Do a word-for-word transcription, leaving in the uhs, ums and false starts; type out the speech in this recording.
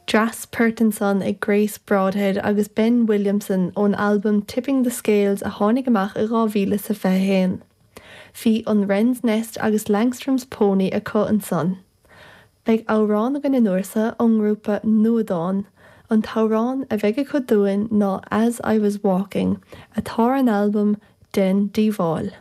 Dreas poirt ansan ag Grace Broadhead agus Ben Williamson ón albam Tipping the Scales a tháinig amach i dhá mhíle sa fiche haon. Bhí an Wren's Nest agus Langstrom's Pony acu ansan. Beidh amhrán againn an uair seo ón ngrúpa Nuadán, an t-amhrán a bheidh acu dúinn ná As I Was Walking, atá ar an albam Den Díobháil.